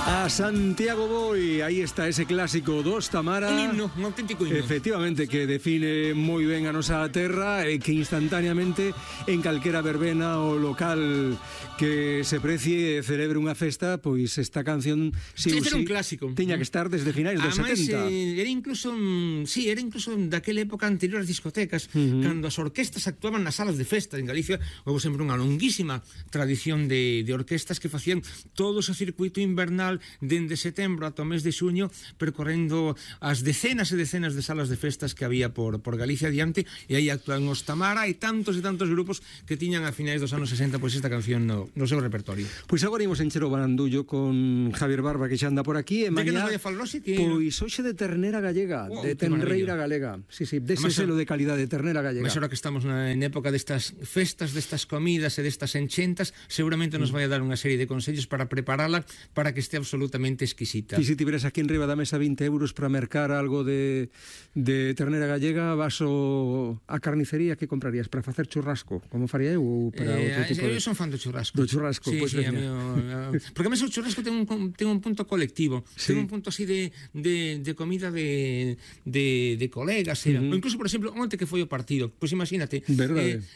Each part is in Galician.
A Santiago voy, aí está ese clásico dos Tamara. Un himno, un auténtico himno. Efectivamente, que define moi ben a nosa terra e que instantaneamente en calquera verbena ou local que se precie e celebre unha festa, pois esta canción sí, era un clásico. Tiña que estar desde finais dos 70. Era incluso daquela época anterior ás discotecas, cando as orquestas actuaban nas salas de festa en Galicia. Houve sempre unha longuísima tradición de orquestas que facían todo ese circuito invernal dende setembro ata o mes de xuño, percorrendo as decenas e decenas de salas de festas que había por Galicia adiante, e aí actuaban os Tamara e tantos grupos que tiñan a finais dos anos 60 pois esta canción no seu repertorio. Pois agora imos encher o barandullo con Javier Barba, que xa anda por aquí, e mañá, que nos vai a falar hoxe que... Pois hoxe de ternera gallega, de tenreira galega. Sí, dese selo de calidad de ternera gallega. Mas ahora que estamos en época destas festas, destas comidas e destas enchentas, seguramente nos vai a dar unha serie de consellos para preparala para que este absolutamente exquisita. E se tiveras aquí en riba da mesa 20 euros para mercar algo de ternera gallega, vas a carnicería, que comprarías? Para facer churrasco, como faría eu? Ou para outro tipo de... Eu son fan do churrasco. Do churrasco, sí, pois sí, porque a mí o churrasco ten un punto colectivo, ten un punto así de comida de colegas, ou incluso, por exemplo, onte que foi o partido, pois imagínate,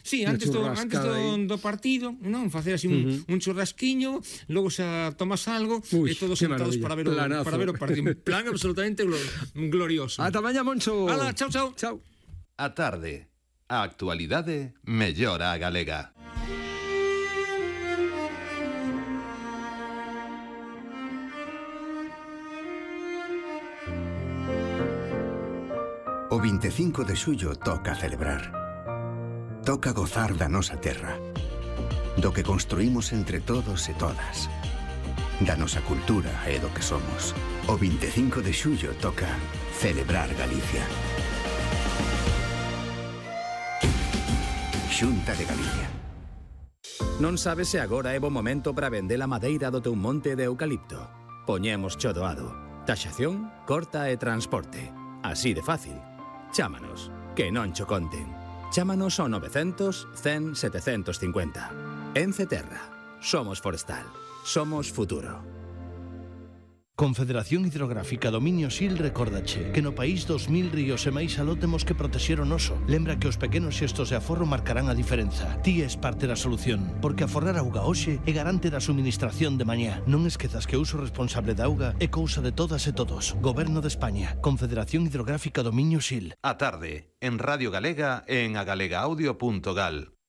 sí, antes do partido, non, facer así un churrasquiño, logo xa tomas algo e todos sentados para ver o partido. Plan absolutamente glorioso. Ata mañá, Moncho. Hala, chao. Chao. A tarde, a actualidade mellora a galega. O 25 de xullo toca celebrar. Toca gozar da nosa terra, do que construímos entre todos e todas, da nosa cultura e do que somos. O 25 de xullo toca celebrar Galicia. Xunta de Galicia. Non sabes se agora é bo momento para vender a madeira do teu monte de eucalipto? Poñemos cho doado. Taxación, corta e transporte. Así de fácil. Chámanos, que non cho conten. Chámanos ao 900 100 750. Ence Terra. Somos forestal. Somos futuro. Confederación Hidrográfica Dominio Sil recórdache que no país 2000 ríos e máis aló temos que protexer o noso. Lembra que os pequenos xestos de aforro marcarán a diferenza. Ti és parte da solución, porque aforrar auga hoxe é garante da suministración de mañá. Non esquezas que o uso responsable da auga é cousa de todas e todos. Goberno de España, Confederación Hidrográfica Dominio Sil. A tarde, en Radio Galega e en agalegaudio.gal.